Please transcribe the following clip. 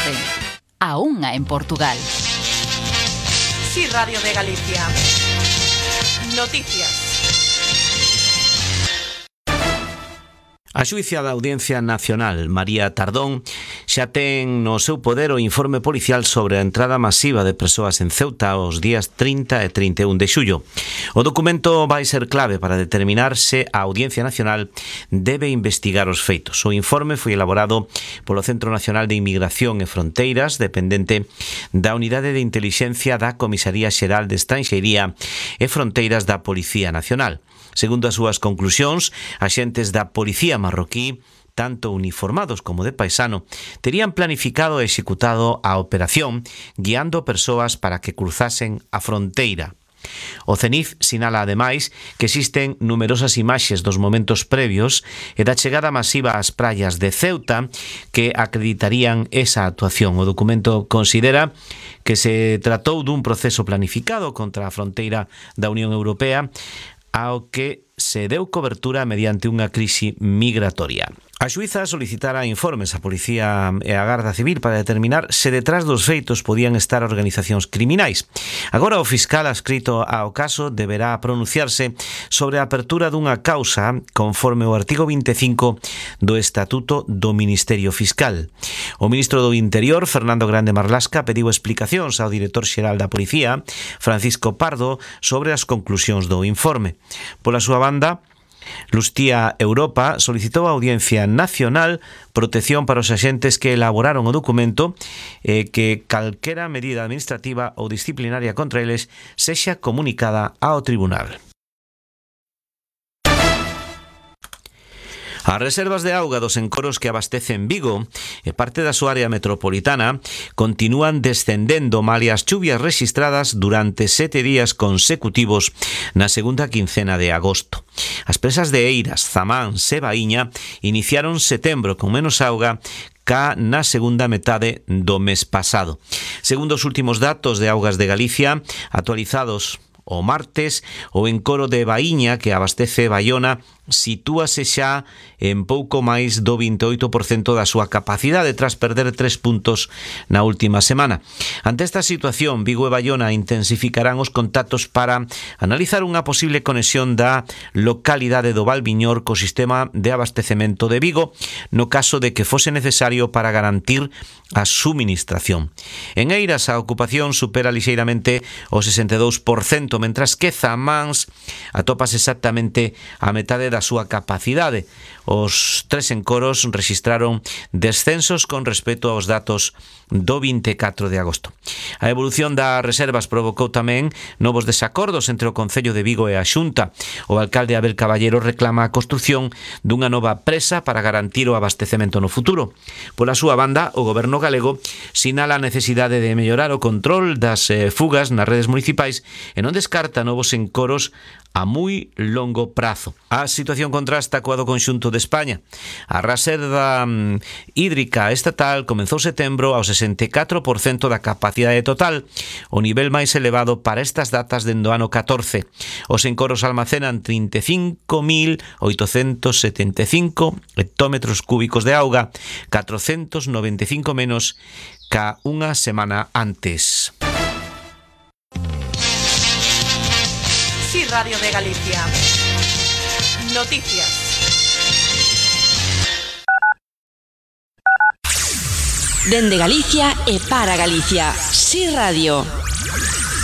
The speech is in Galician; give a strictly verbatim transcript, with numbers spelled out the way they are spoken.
tarde. A unha en Portugal. Sí, Radio de Galicia. Noticias. A xuíza da Audiencia Nacional, María Tardón, xa ten no seu poder o informe policial sobre a entrada masiva de persoas en Ceuta os días trinta e trinta e un de xullo. O documento vai ser clave para determinar se a Audiencia Nacional debe investigar os feitos. O informe foi elaborado polo Centro Nacional de Inmigración e Fronteiras, dependente da Unidade de Intelixencia da Comisaría Xeral de Estranxeiría e Fronteiras da Policía Nacional. Segundo as súas conclusións, axentes da Policía marroquí, tanto uniformados como de paisano, terían planificado e executado a operación guiando persoas para que cruzasen a fronteira. O CENIF sinala ademais que existen numerosas imaxes dos momentos previos e da chegada masiva ás praias de Ceuta que acreditarían esa actuación. O documento considera que se tratou dun proceso planificado contra a fronteira da Unión Europea ao que se deu cobertura mediante unha crise migratoria. A xuíza solicitara informes á Policía e á Garda Civil para determinar se detrás dos feitos podían estar organizacións criminais. Agora o fiscal adscrito ao caso deberá pronunciarse sobre a apertura dunha causa conforme o artigo vinte e cinco do Estatuto do Ministerio Fiscal. O ministro do Interior, Fernando Grande Marlasca, pediu explicacións ao director xeral da Policía, Francisco Pardo, sobre as conclusións do informe. Pola súa banda, Lustía Europa solicitou a Audiencia Nacional protección para os axentes que elaboraron o documento e que calquera medida administrativa ou disciplinaria contra eles sexa comunicada ao tribunal. As reservas de auga dos encoros que abastecen Vigo e parte da súa área metropolitana continúan descendendo malia as chuvias rexistradas durante sete días consecutivos na segunda quincena de agosto. As presas de Eiras, Zamán e Baíña iniciaron setembro con menos auga ca na segunda metade do mes pasado. Segundo os últimos datos de Augas de Galicia, actualizados o martes, o encoro de Baíña, que abastece Baiona, sitúase xa en pouco máis do vinte e oito por cento da súa capacidade tras perder tres puntos na última semana. Ante esta situación, Vigo e Baiona intensificarán os contactos para analizar unha posible conexión da localidade do Valviñor co sistema de abastecemento de Vigo no caso de que fose necesario para garantir a suministración. En Eiras a ocupación supera lixeiramente o sesenta e dous por cento, mentras que Zamáns atopas exactamente a metade da súa capacidade. Os tres encoros rexistraron descensos con respecto aos datos do vinte e catro de agosto. A evolución das reservas provocou tamén novos desacordos entre o Concello de Vigo e a Xunta. O alcalde Abel Caballero reclama a construción dunha nova presa para garantir o abastecemento no futuro. Pola súa banda, o goberno galego sinala a necesidade de mellorar o control das eh, fugas nas redes municipais e non descarta novos encoros a moi longo prazo. A situación contrasta coa do conxunto de España. A reserva mm, hídrica estatal comezou setembro ao sesenta e catro por cento da capacidade total, o nivel máis elevado para estas datas dende o ano catorce. Os encoros almacenan trinta e cinco mil oitocentos setenta e cinco hectómetros cúbicos de auga, catrocentos noventa e cinco menos ca unha semana antes. Sí, Radio de Galicia. Noticias. Dende Galicia e para Galicia. Sí Radio.